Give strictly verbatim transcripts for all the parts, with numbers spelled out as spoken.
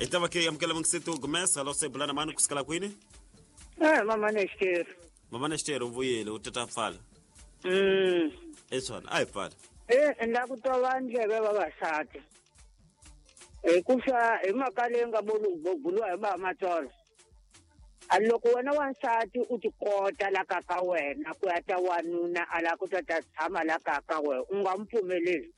Hi ta va ke amukela mungiseto Gomez hello se bulana mani kusukela kwini? Eh mama Nextero. Mama Nextero vuyile u tata pfala. Mm. Eswana a hi pfala. Eh nda ku tova ndleve vavasati. Hi ku swa hi mhaka leyi nga buluwa hi ba Matsolo. A loko wena wansati u tikota la ka ka wena ku ya ta wanuna a la ku ta ta tshama la ka ka wena u nga n'wi pfumeleli.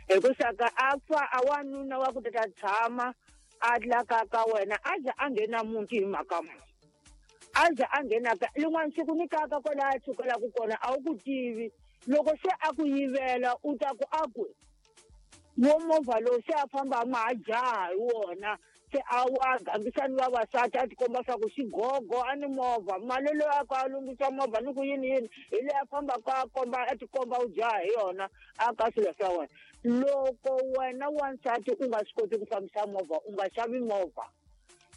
Hi ku saka a fa a wanuna wa ku ta ta tshama a la ka ka wena a za a nghena muti hi mhaka muni. A za a nghena ka lin'wana siku ni kaka kwala a tshukelaka kona a wu ku tivi loko se a ku yivela u ta ku a ku wo movha lowu se a famba ma ha jaha hi wona se a a gangisa ni vavasati a tikomba swa ku xigogo a ni movha mali loyi a ku a lunghisa movha ni ku yini yini hi leyi a fambaka a komba a tikomba u jaha hi yona a ka swilo swa wena. Loko wena wansati u nga swi koti ku fambisa movha u nga xavi movha.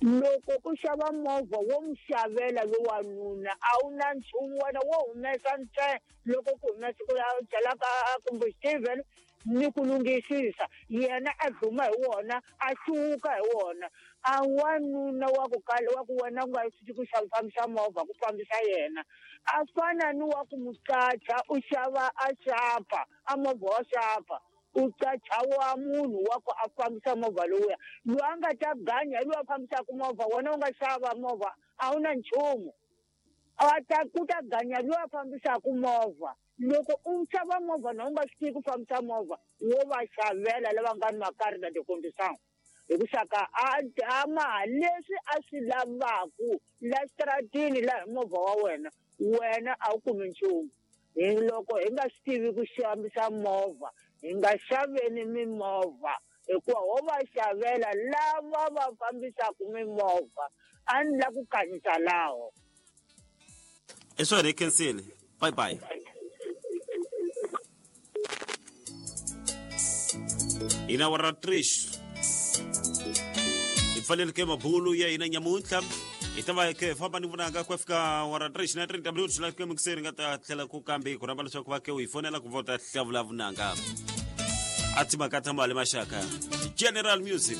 Loko u xava movha wo n'wi xavela lo wanuna a wu na nchumu wena wo humesa ntsena loko ku humesa ku ya byalaka kumbe Steven ni ku lunghisisa yena a dluma hi wona a hluka hi wona. A wanuna wa ku kala wa ku wena u nga swi ku xava fambisa movha ku fambisa yena a fana ni wa ku muqacha u xava a xapa a movha wa xapa u qacha wa munhu wa ku a fambisa movha lowuya loyi a nga ta ganya hi loyi a fambisaka movha wena u nga xava movha a wu na nchumu a ta ku ta ganya loyi a fambisaka movha. Loko u xava movha na u nga swi tivi ku fambisa movha wo va xavela lava nga ni makari na tikondisana hi ku xaka a a ma leswi a swi lavaku la xitaratini la hi movha wa wena wena a wu kumi nchumu. Hi loko hi nga swi tivi ku xambisa movha hi nga xaveni mimovha hikuva ho va xavela lava va fambisaka mimovha a ni la ku kanyisa laho. Eswona hi khensile. Bye bye. Hina wa Trish hi pfaleleke mabulu ya hina nyamuntlha hi ta va ke famba ni vonaka ku fika wa Trish na trenta minutos la ke mixeri nga ta tlhela ku kambe ku rhamba leswaku va ke u hi fonela ku vota hlavula vunanga a timhaka ta mali maxaka General Music.